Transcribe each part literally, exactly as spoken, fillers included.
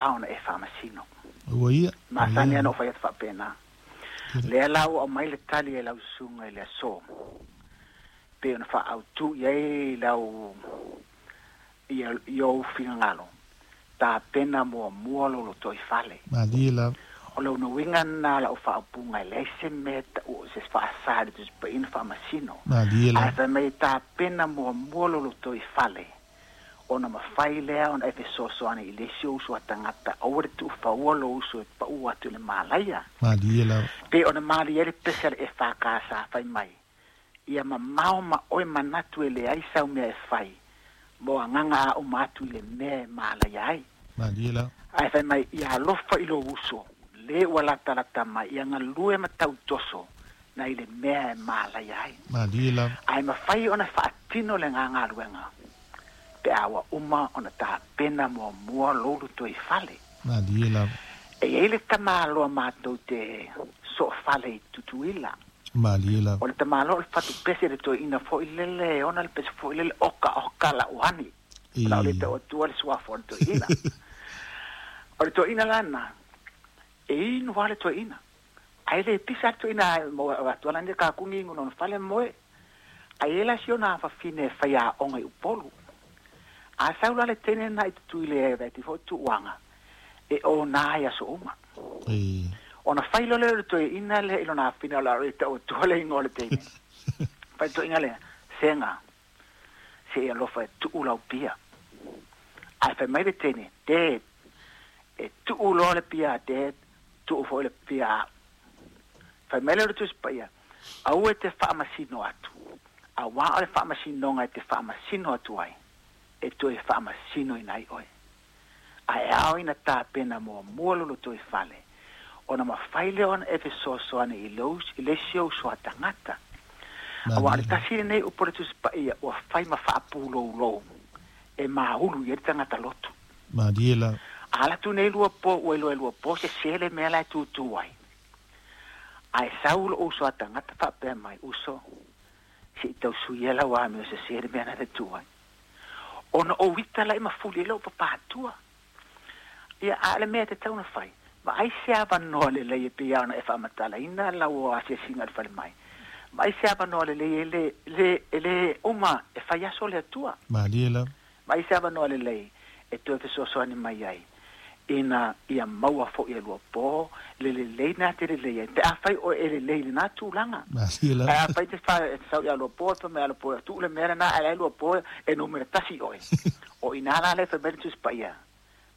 Ona e faamasino. Ua ia. Masani ana o fai atu faapena. Lea la ua aumai le tali e lau susuga i le aso pei ona faaautu i ai lau ia i ou finagalo, tapena muamua lou lotoifale. Malie lava. O lona uiga lena o lau faaupuga, e leai se mea tau o se faasa i le Tusi Paia ona faamasino. Malie Ae lava. fai mai, tapena muamua lou lotoifale ona mafai lea ona e fesoasoani i le isi ou uso a tagata, aua le tuufaua lou uso e pau atu i le malaia. Malie lava. Pei ona malie ai le pese a le E F K sa fai mai, ia mamao ma oe manatu e leai sau mea e fai mo agaga a uma atu i le mea e malaia ai. Malie lava. Ae fai mai, ia alofa i lou uso le ua latalata mai, ia galue ma tautoso na i le mea e malaia ai. Malie lava. Ae mafai ona faatino le gagaluega pe a ua uma ona tapena muamua lou lotoifale. Malie lava. E i ai le tamaloa matou te soofale i Tutuila. Malie lava. O le tamaloa o le fatupese le toeaina foi lele e ona le pese foi lele oka oka lauani. O lau le E tau atua le suafa o le toeaina. O le toeaina lana, e inu lava le toeaina. Ae le pisa le toeaina mo atua lani kakugi inu lona fale moe. Ae la si ona fafine e faiaoga i Upolu. A sau la le teine na i Tutuila e vaai foi tuuaga e ona ai aso uma. E Ona fai loa lea o le toeaina lea i lona afine o le a tau atua le igoa o le teine. Fai le toeaina lea, sega, se i alofa e tuu lau pia. Ae fai mai le teine, Dad, e tuu loa le pia a Dad, tuu foi le pia a au. Fai mai lea o le Tusi Paia, aua e te faamasino atu. Auā o le faamasinoga e te faamasino atu ai, e toe faamasinoina ai oe. Ae ao ina tapena muamua lou lotoifale, ona mafai lea ona e fesoasoani i lou i le isi ou uso a tagata. Auā o le Malie lava. Tasi lenei upu o le Tusi Paia ua fai ma faapulou e maulu i ai le tagata lotu. Malie lava. A alu atu nei lua po ua iloa e lua po sese le mea la e tutu ai. Ae sau lou uso a tagata faapea mai, uso, se i tau suia lau amio sese le mea na te tu ai. Ona ou ita la i mafuli e lou papatua. Ia a le mea te tau na fai. Ma ai se avanoa lelei e pei ona e faamatalaina lau asiasiga i le falemai. Ma ai se avanoa lelei e le, le, e le uma e fai aso le Atua. Malie lava. Ma ai se avanoa lelei e toe fesoasoani mai ai ina ia maua foi e lua po le lelei na te lelei ai. Pe a fai o e lelei le na tulaga. Malie Ae lava. a fai te fa e sau ia lua po fa me ala po tu le mea na ala lua po e numera tasi oe. O ina la le fai mai le Tusi Paia,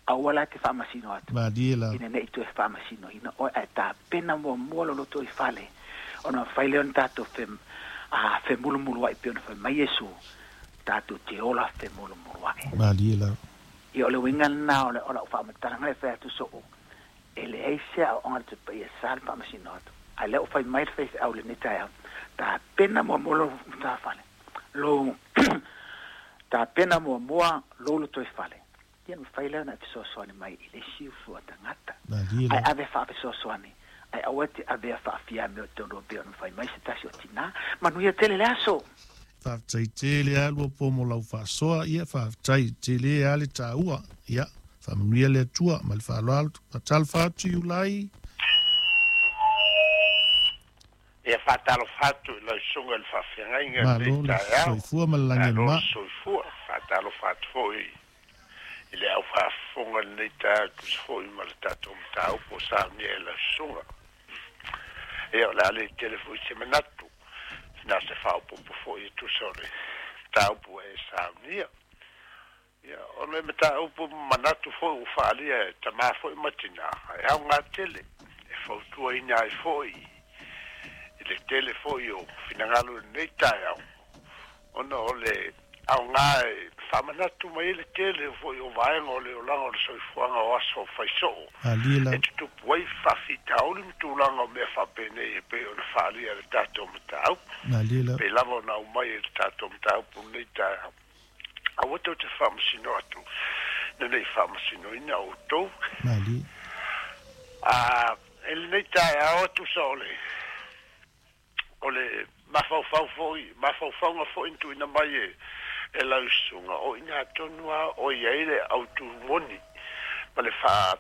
aua la te faamasino atu. Malie lava. Ina nei toe faamasinoina oe, ae tapena muamua lou lotoifale. Ona fai lea ona tatou fe, a, femulumulu ai pei ona fai mai Iesu, tatou te ola femulumulu ai. Malie lava. Ia o le uiga lena o le o lau faamatalaga le fai atu soo, e leai se aoaoga a le Tusi Paia e sa le faamasino atu. Ae lea ua fai mai le faifeau lenei taeao, tapena muamua lou matafale. Lou tapena muamua lou lotoifale. Ia mafai lea ona e fesoasoani mai i le isi uso a tagata. Malie Ae lava. ave faafesoasoani. Ae aua te avea faafiame o tonu pei ona fai mai se tasi o tinā. Manuia tele le aso. Faafetai tele a lua po mo lau faasoa, ia faafetai tele a le taua, ia faamanuia le Atua ma le faaaloalo. Faatalofa atu Iulai. Ia faatalofa atu i lau susuga i le faafeagaiga Malo lenei le taeao. Soifua ma le lagi e Malo mama. le soifua. Faatalofa atu foi i le au faafofoga lenei taeao e tusa foi ma le tatou mataupu o saunia e lau susuga. Ia o le a le tele foi se manatu. Na se faaopoopo foi e tusa o le mataupu e saunia. Ia o le mataupu manatu foi ua faaalia e tamā foi ma tinā. E aoga tele e fautuaina ai foi i le tele foi o finagalo i lenei taeao ona o le aoga e faamanatu mai ai le tele foi o vaega o le olaga o le soifuaga o aso faisoo Malie e lava. tutupu ai faafitauli ma tulaga o mea faapenei e pei ona faaalia le tatou mataupu. Malie lava. Pei lava ona aumai e le tatou mataupu lenei taeao. Aua tou te faamasino atu na nei faamasinoina outou. Malie. A e lenei taeao tusa o le o le mafaufau foi mafaufauga foi na tuuina mai e e lau susuga o i ina tonu lava o i ai le autu moni ma le